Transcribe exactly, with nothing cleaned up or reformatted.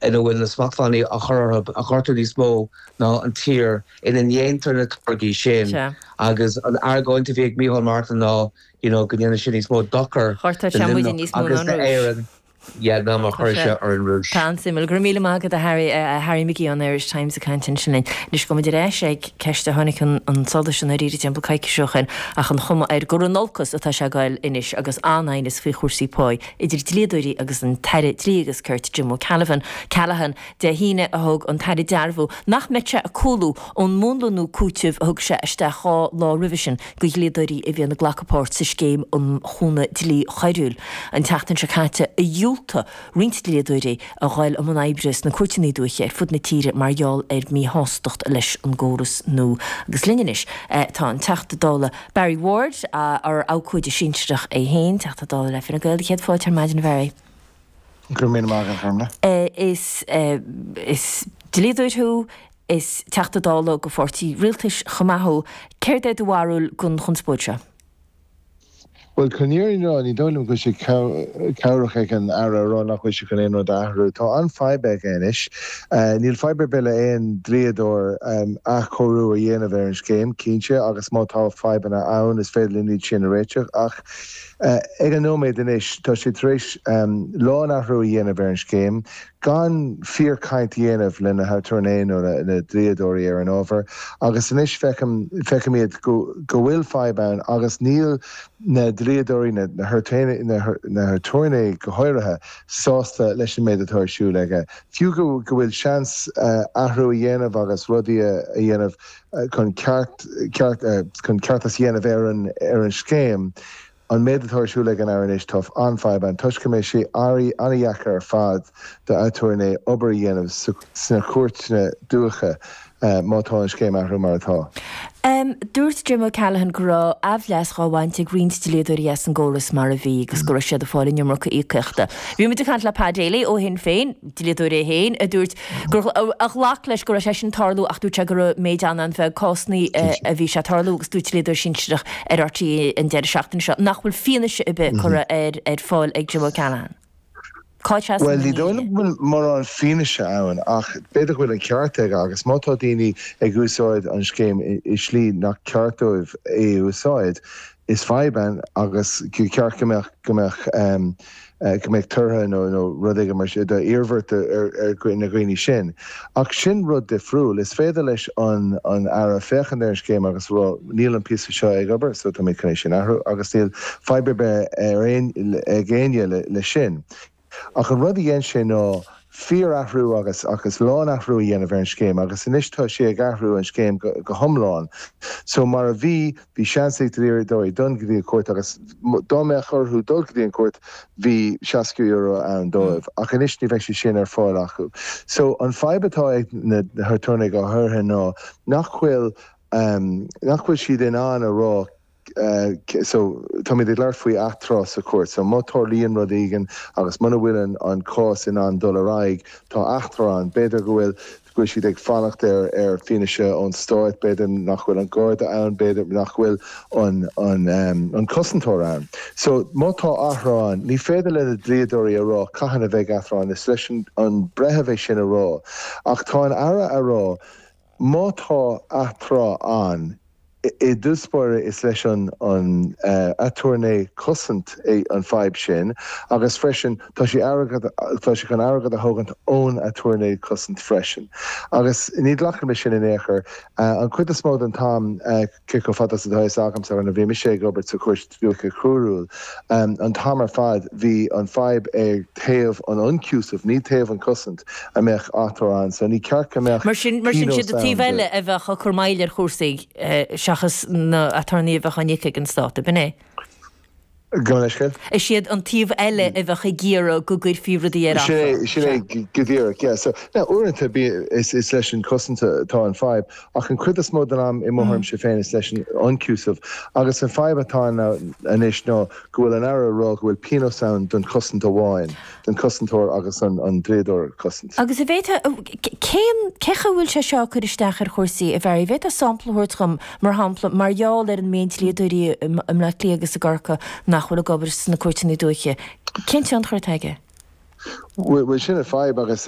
ina bhfuil na smachtbhannaí á chur orthu a ghortú níos mó ná an tír ina ndéantar na táirgí sin agus an argóint a bhí ag Micheál Martin ná you know, go ndéanann sin níos mó dochar agus Éirinn. Yeah, ná mar chuir sé ar an Rúis. Tá an-suimiúil go raibh míle maith agat a Harry uh, Harry McGee an Irish Times ag caint ansin linn. Anois go mbeidh sé ag ceist a tháinig chun solais an arís timpeall coicís ó shin ach an chuma air gur in olcas atá sé ag goil anois agus an-aighneas faoi chúrsaí pá idir dlíodóirí agus an tAire Dlí agus Cirt Jim O'Callaghan Callaghan Dé hAoine a thug an tAire dearbhú nach mbeadh sé ag cúlú ón múnla nua cúitimh a thug sé isteach dhá lá roimhe sin do dhlíodóirí a bhíonn ag glacadh páirt sa scéim um chúnamh dlí choiriúil. An tseachtain seo caite a dhiúltaigh roinnt dlíodóirí a dhul i mbun oibre sna cúirteanna dúiche ar fud na tíre mar gheall ar mhíshástacht leis an gcóras nua. Agus linn anois tá an Teachta Dála Barry Ward ar abhcóide sinsearach é féin, Teachta Dála le Fine Gael céad fáilte ar maidin Barry. Go raibh míle maith agat Orna. Is is dlíodóir thú is Teachta Dála do pháirtí rialtais chomh maith thú, céard é do bharúil den chonspóid seo? Well chun fírinne a rá ní dóigh liom go bhfuil sé cabhrach ag an Aire a rá nach bhfuil sé chun aon rud a athrú. Tá an fadhb aige anois. Níl fadhb ar bith le aon dlíodóir athchóiriú a dhéanamh ar an scéim, cinnte, agus má tá fadhbanna ann is féidir linn iad sin a réiteach ach ag an nóiméad anois tá sé tar éis lánathrú a dhéanamh ar an scéim gan fíorchaint a dhéanamh le na haturnae nó na dlíodóirí ar an ábhar agus anois feicim feicimid go go bhfuil fadhb ann agus níl na dlíodóirí na na haturnae go háirithe sásta leis an méid atá ar siúl aige. Fiú go go bhfuil seans athrú a dhéanamh agus rudaí a dhéanamh chun ceart ceart chun ceartas a dhéanamh ar an ar an scéim, an méid atá ar siúl ag an Aire anois tá an-fhadhb ann toisc go mbeidh sé an-deacair ar fad do aturnae obair a dhéanamh sna cúirteanna dúiche má tá an scéim athrú mar atá. Dúirt Jim O'Callaghan go raibh aimhleas á bhaint ag roinnt dlíodóirí as an gcóras mar a bhí agus go raibh siad ag fáil an iomarca íocaíochta. Bhí muid ag caint le Pa Daly ó Shinn Féin, dlíodóir é féin, a dúirt gur a ghlac leis go raibh sé sin ag tarlú ach dúirt sé go raibh méid an-an-bheag cásanna a bhí sé ag tarlú agus dúirt dlíodóir sinsearach ar RTÉ an deireadh seachtaine seo nach bhfuil fianaise ar bith curtha ar ar fáil ag Jim O'Callaghan. Cá Well ní dóigh liom go bhfuil mórán fianaise ann ach b'fhéidir go bhfuil an ceart aige agus má tá daoine ag úsáid an scéim i slí nach ceart dóibh é a úsáid, is fadhb ann agus go ceart go mbeadh go mbeadh go mbeadh tortha nó nó rud éigin mar sin d'iarmhairt ar ar na dhaoine sin. Ach sin rud difriúil, is féidir leis an an Aire féachaint ar an scéim agus rá níl an píosa seo ag obair so tá mé chun é sin athrú agus níl fadhb ar bith ar aon ag éinne le le sin. Ach an rud a dhein sé ná fíorathrú agus agus lánathrú a dhéanamh ar an scéim agus anois tá sé ag athrú an scéim go, go hiomlán. So mar a bhí bhí seans ag dlíodóirí dul go dtí an cúirt agus dá mbeadh orthu dul go dtí an cúirt bhí seasca euro ann dóibh ach anois ní bheidh sé sin ar fáil acu. So an fadhb atá ag na haturnae go háirithe ná nach bhfuil um, nach bhfuil siad in ann a rá Uh, so táimid ag labhairt faoi atráth sa chúirt, so má tharlaíonn rud éigin agus muna bhfuil an, an cás in ann dul ar aghaidh tá atráth ann, b'fhéidir go bhfuil go bhfuil siad ag fanacht ar ar fianaise ón stát, b'fhéidir nach bhfuil an garda ann, b'fhéidir nach bhfuil an an um, an cosantóir ann. So má tá atráth ann, ní féidir le na dlíodóirí a rá cathain a bheidh atráth ann, is leis an, an breitheamh é sin a rá. Ach tá an Aire a rá má tá atráth ann i dtús báire is leis an an uh, aturnae cosaint é an fadhb sin agus freisin tá sé tá sé chun airgead a thógaint ón aturnae cosaint freisin. Agus ní ghlacann mé sin in aon chor uh, an chuid is mó den t-am uh, cé chomh fada atá agam sa a bhí mise ag obair sa chúirt dúiche choiriúil. Um, an t-am ar fad bhí an fadhb ag taobh an ionchúisimh ní taobh an cosaint a mbeadh atráth ann, so ní ceart go mbeadh Mar sin mar sin siad an taobh eile a bheadh ag cur moill ar chúrsaí seachas na aturnae a bheadh á n-íoc ag an stát, ab in é? Go leisce? Is siad an taobh eile a bheadh ag iarraidh go gcuirfí rudaí ar Sin sin é go díreach, yeah. So now uaireanta bí is is leis an cosaint atá an fadhb ach an chuid is mó den am i mo thuairimse féin is leis an ionchúiseamh agus an fadhb atá anois ná go bhfuil an Aire rá go bhfuil pionós ann don chosaint amháin, don chosantóir agus an an dlíodóir cosaint. Agus a bhéta cén cé chaoi bhfuil sé seo cur isteach ar chúrsaí a bhfuil bhéta sampla a thabhairt dom mar shampla mar gheall ar an méid dlíodóirí i mBleá Cliath agus i gCorcaigh nach bhfuil ag obair sna cúirteanna dúiche. Cén tionchar atá aige? Bhuel sin an fadhb agus